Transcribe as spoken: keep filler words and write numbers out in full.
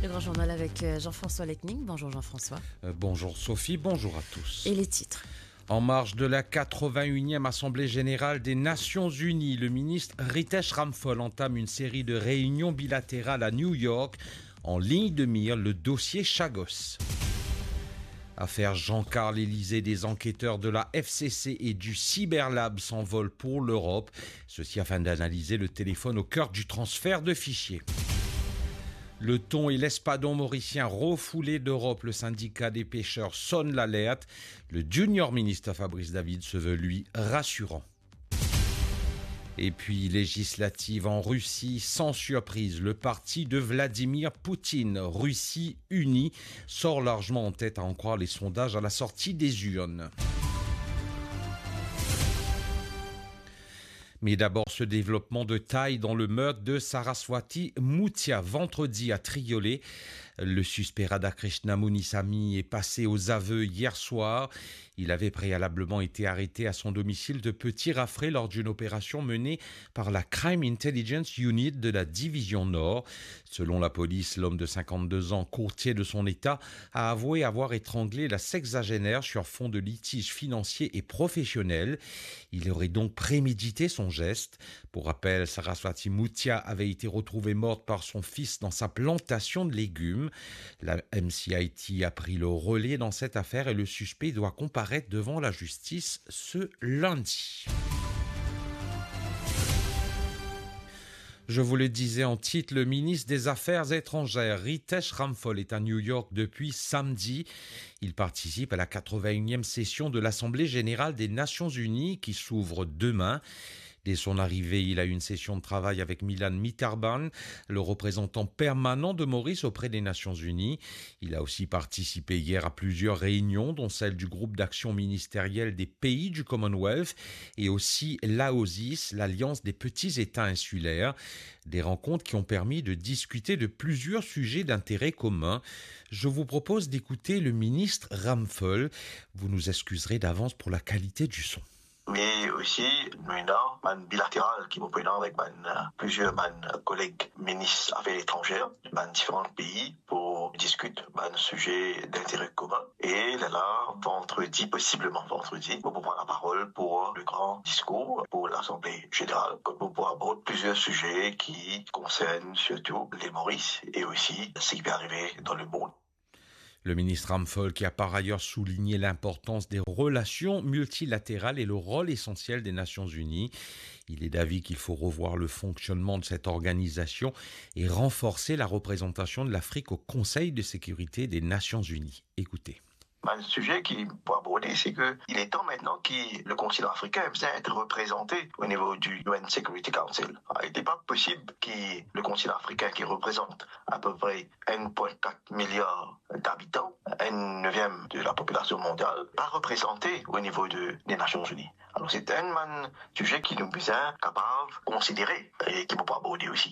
Le grand journal avec euh, Jean-François Lecning. Bonjour Jean-François. Euh, bonjour Sophie, bonjour à tous. Et les titres ? En marge de la quatre-vingt-unième Assemblée générale des Nations unies, le ministre Ritesh Ramphal entame une série de réunions bilatérales à New York, en ligne de mire le dossier Chagos. Affaire Jean-Carl Élysée, des enquêteurs de la F C C et du Cyberlab s'envolent pour l'Europe, ceci afin d'analyser le téléphone au cœur du transfert de fichiers. Le thon et l'espadon mauricien refoulés d'Europe, le syndicat des pêcheurs sonne l'alerte. Le junior ministre Fabrice David se veut, lui, rassurant. Et puis, législatives en Russie, sans surprise, le parti de Vladimir Poutine, Russie Unie, sort largement en tête, à en croire les sondages à la sortie des urnes. Mais d'abord, ce développement de taille dans le meurtre de Saraswati Muthiah vendredi à Triolet. Le suspect Radhakrishna Munisamy est passé aux aveux hier soir. Il avait préalablement été arrêté à son domicile de Petit Raffray lors d'une opération menée par la Crime Intelligence Unit de la Division Nord. Selon la police, l'homme de cinquante-deux ans, courtier de son état, a avoué avoir étranglé la sexagénaire sur fond de litiges financiers et professionnels. Il aurait donc prémédité son geste. Pour rappel, Saraswati Muthiah avait été retrouvée morte par son fils dans sa plantation de légumes. La M C I T a pris le relais dans cette affaire et le suspect doit comparaître devant la justice ce lundi. Je vous le disais en titre, le ministre des Affaires étrangères, Ritesh Ramphal, est à New York depuis samedi. Il participe à la quatre-vingt-unième session de l'Assemblée générale des Nations unies qui s'ouvre demain. Dès son arrivée, il a eu une session de travail avec Milan Mitarban, le représentant permanent de Maurice auprès des Nations unies. Il a aussi participé hier à plusieurs réunions, dont celle du groupe d'action ministériel des pays du Commonwealth et aussi l'AOSIS, l'Alliance des petits États insulaires. Des rencontres qui ont permis de discuter de plusieurs sujets d'intérêt commun. Je vous propose d'écouter le ministre Ramphal. Vous nous excuserez d'avance pour la qualité du son. Me osi, nou ena bann bilateral ki mo pou ena avek bann, euh, plizier bann, euh, koleg minis zafer etranzer, bann diferan pei pou diskit bann size dintere komin. E lerla, vandredi, posibleman vandredi, mo pou pran laparol pou le gran diskour pou Lasanble Zeneral, kot mo pou abord plizier size ki konsern sirtou Lil Moris e osi seki pe arive dan lemond. Le ministre Ramphal, qui a par ailleurs souligné l'importance des relations multilatérales et le rôle essentiel des Nations Unies. Il est d'avis qu'il faut revoir le fonctionnement de cette organisation et renforcer la représentation de l'Afrique au Conseil de sécurité des Nations Unies. Écoutez. Bann size ki pou aborde, se ke il est temps maintenant ki le kontinan afrikin bizin et reprezante o nivo di U N Security Council. Li pa posib ki le kontinan afrikin ki reprezant apepre enn pwin kat miliar dabitan, enn neviem de lapopilasion mondial, pa reprezante o nivo de, de Nasion Ini. Alor, se enn bann size ki nou bizin kapav konsidere e ki mo pou aborde osi.